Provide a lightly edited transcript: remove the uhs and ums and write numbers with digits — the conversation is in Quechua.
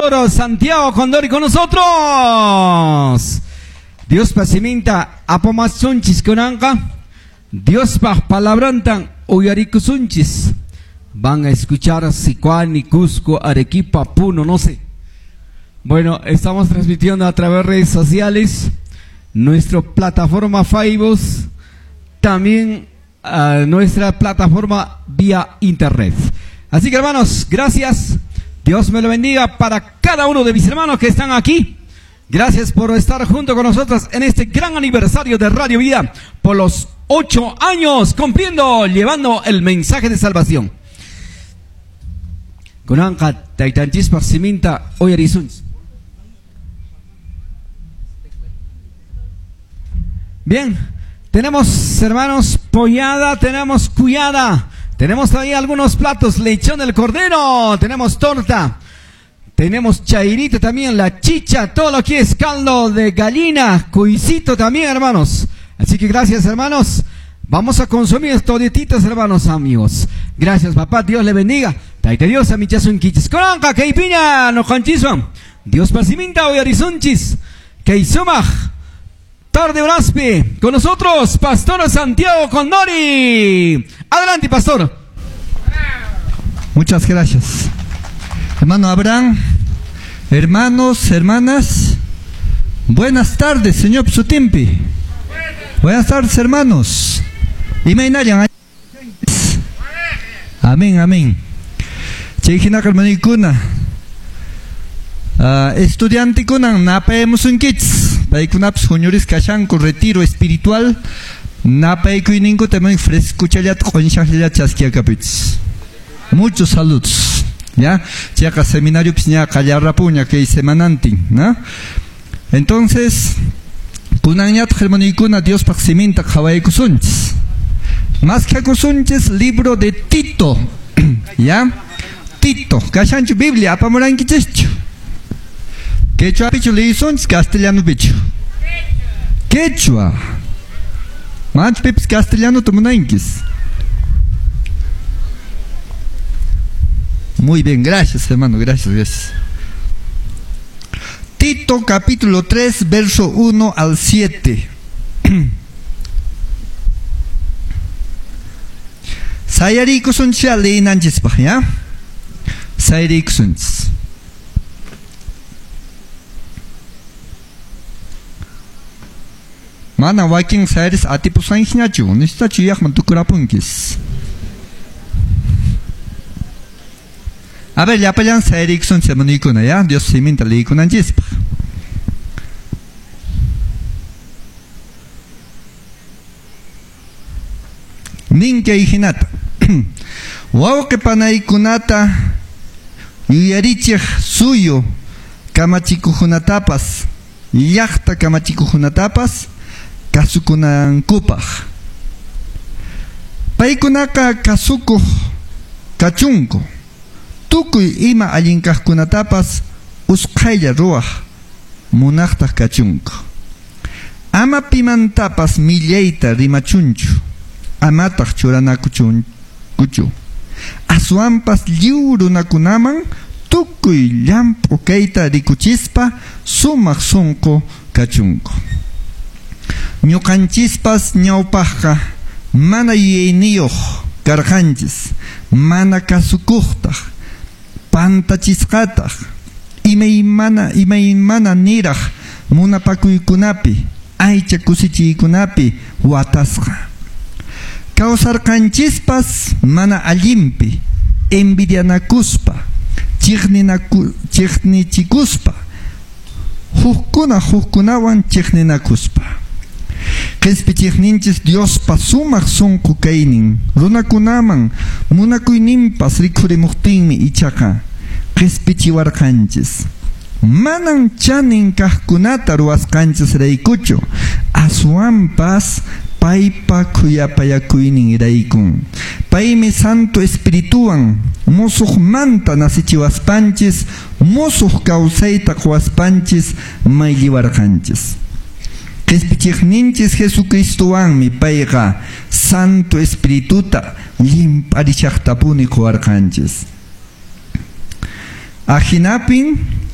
Pastor Santiago Condori con nosotros. Diospa siminta apamuwasunchis kunanqa. Diospa palabrantan uyarikusunchis. Van a escuchar Sicuani, Cusco, Arequipa, Puno, no sé. Bueno, estamos transmitiendo a través de redes sociales, nuestra plataforma Facebook, también a nuestra plataforma vía internet. Así que, hermanos, gracias. Dios me lo bendiga para cada uno de mis hermanos que están aquí. Gracias por estar junto con nosotros en este gran aniversario de Radio Vida, por los 8 años cumpliendo, llevando el mensaje de salvación. Kunanqa taytanchispaq siminta uyarisunchis. Bien, tenemos, hermanos, pollada, tenemos cuyada, tenemos ahí algunos platos, lechón del cordero, tenemos torta, tenemos chairito también, la chicha, todo lo que es caldo de gallina, cuisito también, hermanos. Así que gracias, hermanos. Vamos a consumir todititos, hermanos amigos. Gracias, papá. Dios le bendiga. Tayta Dios, amichanchis. Kunanqa kaypiña nuqanchiswan. Diospa siminta uyarisunchis. Kay sumaq tarde horaspi. Con nosotros, Pastor Santiago Condori. Adelante, pastor. Muchas gracias. Hermano Abraham, hermanos, hermanas, buenas tardes, señor Psutimpi. Buenas tardes, hermanos. Imaynallan. Amén, amén. Chay hinaqa hermanuykuna. Estudiantekunan napaymusunkichis. Paykunapas huñurisqa kashanku retiro espiritual. Napaykuyninkuta frescuchallata q'unshaqllata chaskiyakapichis. Muchos saludos. ¿Ya? Chayqa seminariopis ña qallarrapuña kay semanantin, ¿no? Entonces, kunanñataq, hermanuykuna, Diospaq siminta qhawaykusunchis. Maskhakusunchis libro de Tito. ¿Ya? Tito. Kashanchu Biblia apamurankichishchu. Quechuapichu leyisunchis, castellanopichu. Quechua. Manachu pipis castellano munankis. Muy bien, gracias, hermano, gracias, gracias. Tito capítulo 3, verso 1 al 7. Sayarikusunchis leyinanchispaq, ¿ya? Sayarikusunchis. Mana wakin sayaris atipusankiñachu, nisqachu yaqman tukurapunkis. A ver, llapallan sayarikusunchis, hermanuykuna, ¿ya? Dios siminta leyikunanchispaq. Nin kay hinata. Wawqi panaykunata yuyarichiq suyu kamachikuqkunatapas, llaqta kamachikuqkunatapas kasukunankupaq. Paykunaqa kasukuq kachunku. Tukuy ima allin kaqkunatapas usqhaylla ruwaq munaqtaq kachunku. Ama pimantapas millayta rimachunchu, amataq churanakuchunkuchu. Aswanpas lliw runakunaman tukuy llamp'u kayta rikuchispa sumaq sunqu kachunku. Ñuqanchispas ñawpaqqa mana yuyayniyuq karqanchis, mana kasukuqtaq, pantachisqataq, imaymana niraq munapakuykunapi, aycha kusichiykunapi watasqa. Kawsarqanchispas mana allinpi, envidianakuspa, chiqnichikuspa, hukkuna hukkunawan chiqninakuspa. Qispichiqninchis Diospa sumaq sunqu kaynin, runakunaman munakuyninpas rikhurimuqtinmi ichaqa qispichiwarqanchis. Manan chanin kaqkunata ruwasqanchis raykuchu, aswanpas paypa khuyapayakuynin raykun. Paymi Santo Espirituwan musuqmanta nasichiwaspanchis, musuq kawsayta quwaspanchis maylliwarqanchis. Qispichiqninchis Jesucristowanmi payqa Santo Espirituta llimp'arishaqtapuni quwarqanchis. Ahinapin.